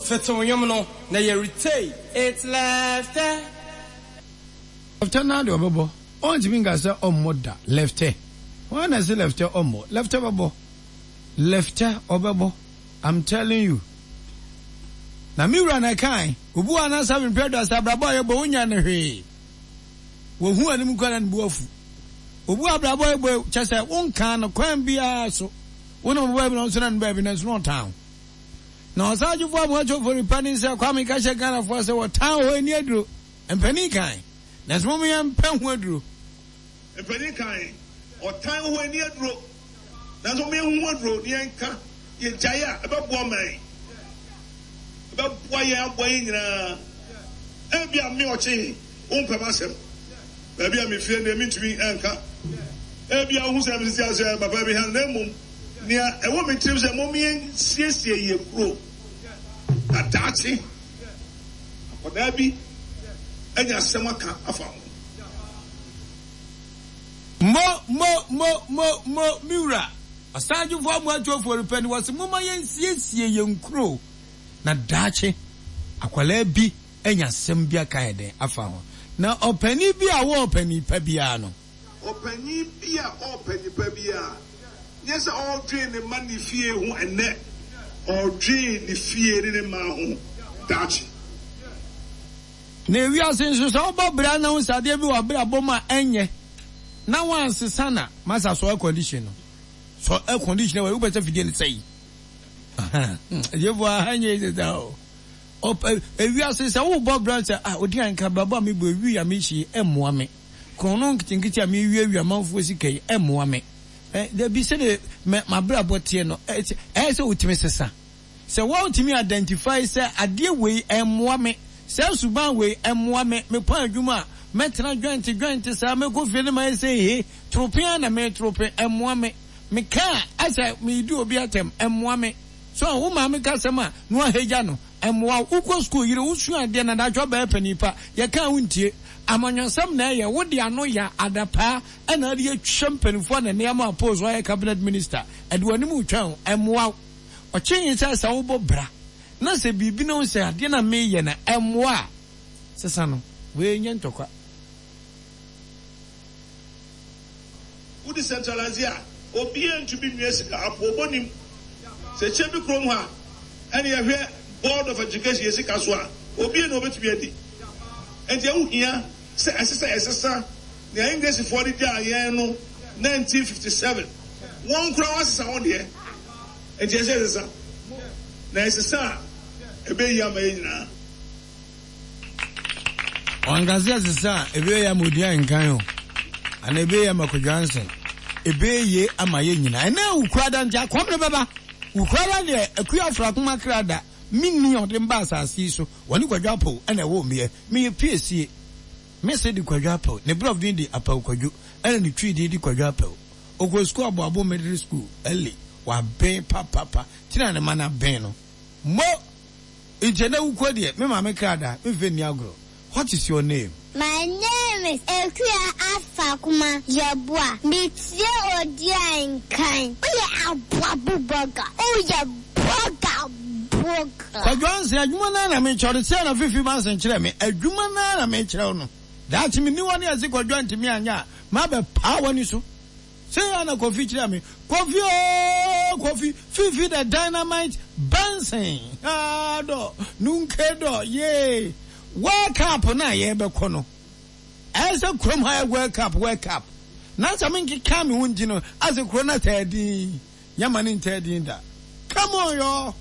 Fetew nnwom no na yɛretei. It's lefte. Lefte naa deɛ ɔbɛbɔ ɔntumi nka sɛ ɔmmɔ da lefte hwan na ɛse lefte ɔmmɔ lefte bɛbɔ lefte ɔbɛbɔ I'm telling you na me wura na ɛkae obi wɔ anasa mprɛ aduasa abrabɔ a yɛbɔ wonya ne hwee wɔhu anim kora na ne bo afu obi wɔ abrabɔ a yɛbɔ kyɛ sɛ wonkaa no kwan biara so wonam baabi na ɔnso na ne baabi nanso na ɔtan wo Na Ɔsagyefo Amoakyɛ Ofori Panin sɛ Kwame ka kyerɛ Ghanafoɔ sɛ wɔtan hɔ ani aduro. Mpanin kan, nanso mom yɛn mpɛ ho aduro. Mpanin kan, ɔtan hɔ ani aduro, nanso mom yɛn ho aduro na yɛn ka, yɛ gyae a, ɛbɛboa ɔman yi, ɛbɛboa yɛn aboa yɛn nyinaa. Ebia me ɔkye wo mpɛ m'asɛm, baabi a mefie deɛ mentumi nka. Ebia wohu sɛ mesisi asɛ papa bi ha, na mmom Nea ɛwɔ me tirim sɛ mom yɛnsiesie yɛn kuro na daakye akwadaa bi anya asɛm aka afa ho. Mo, mo, mo, mo, mo, me wura, Ɔsagyefo Amoatuafo repɛ no, wɔse momma yɛnsiesie yɛn kuro na daakye akwadaa bi anya asɛm bi aka yɛ dɛn afa ho. Na ɔpanin bi a ɔwɔ ɔpanin pa biara no. Ɔpanyin bi a ɔrepɛ nipa bi a, nyɛ sɛ ɔredwen ne mma ne fie ho ɛnnɛ, ɔredwen ne fie ne ne mma ho daakye. Na ewiase nso sɛ wobɔ bra na wohu sɛ adeɛ bi wɔ w'abrabɔ mu a ɛnyɛ na woansesa na masa sɔ air condition no sɔ air condition wɔ wopɛ sɛ fidie no sɛe ɛgyefoɔ aha nyɛ sɛ saa o ɔpɛ ewiase sɛ wobɔ bra sɛ ah odi anka abrabɔ a mebɔ ewi a mehyie ɛmmoa me Korɔno nketenkete a merewiawia amanfoɔ sika yi mmoa me. Dabi, sɛdeɛ m'abrabɔ teɛ no, ɛyɛ sɛ wotumi sesa. Sɛ woantumi identify sɛ adeɛ wei mmoa me, saa suban wei mmoa me, mekɔ adwuma a, mɛtena dwɛnte dwɛnte saa, mɛkɔ fie no mayɛ sɛ ehe, torope ara na meretorope, ɛmmoa me. Meka a, asɛ meredi obi atɛm, ɛmmoa me. So wo maame ka asɛm a, na woahagya no, ɛmmoa wo. Wokɔ sukuu yere, wosua adeɛ na daakye woabɛyɛ panin pa, yɛka a wontie. Amanyɔsɛm na ɛyɛ, wode ano ya adapaa na wode atwa mpaninfoɔ a na nneɛma a post woayɛ cabinet minister, ɛde w'anim retwa o, ɛmmoa wo. Ɔkyee sɛ sɛ wobɔ bra na sɛ biribi na wohu sɛ adeɛ no a meyɛ no ɛmmoa a, sesa no, wei nyɛ ntɔkwa. Wo decentralise a, obiara ntumi nwia sika, apoobɔ nim. Sɛ kyɛ bi kurom ha ɛne yɛhwɛ board of education yɛ sika so a, obiara na obetumi adi. Enti ɛho hia sɛ ɛsɛ sɛ yɛsesa nea Englishfoɔ de gyaa yɛn no 1957. Wɔn koraa wɔasesa wɔn deɛ. Enti ɛsɛ sɛ yɛsesa. Na yɛsesa a, ɛbɛyɛ yie ama yɛn nyinaa. Wanka sɛ sesa a ɛbɛyɛ ama odi nkan o, anaa ɛbɛyɛ ama Kwadwo Ansen. Ɛbɛyɛ yie ama yɛn nyinaa. Ɛnɛ Wukuada nti akɔm no bɛba. Wukuada deɛ Akua Afrakoma kra da. Me nni a ɔde me baa asase yi so. Wɔne Kwadwo Apawu na ɛwoo meɛ. Meyɛ piesie. Me se de Kwadwo Apawu. Ne brɔf din de Apawu Kwadwo ɛna ne twi din de Kwadwo Apawu. Ɔkɔɔ sukuu Aboabo Middle School, Early. Waben papapa. Ti na ne mma no aben no. Mo! Nkyɛ na wukɔ deɛ, me maame kra da, me nfɛ nni agorɔ, What is your name? My name is Akua Afakoma Yeboah. Me tie odian nkan. Woyɛ aboa bo bɔga. Woyɛ bɔga bɔga. Kwadwo Ansen, adwuma no ara na mekyerɛ wo, sɛɛ na Fifi Manson kyerɛɛ me, adwuma no ara na mekyerɛ wo no. Daakye menni hɔ ne yɛse Kwadwo antumi anyɛ a, mabɛpaa w'ani so. Sei ara na Kofi kyerɛɛ me. Kofi oo Kofi, Fifi the dynamite Benson haa dɔ, nunke dɔ yee. World Cup no a yɛrebɛkɔ no, ɛyɛ sɛ kurom ha yɛ World Cup, World Cup. Na sɛ menkeka me ho nti no, asɛ kuro no ataa din. Nyɛ ma no ntaa din da. Come on y'all.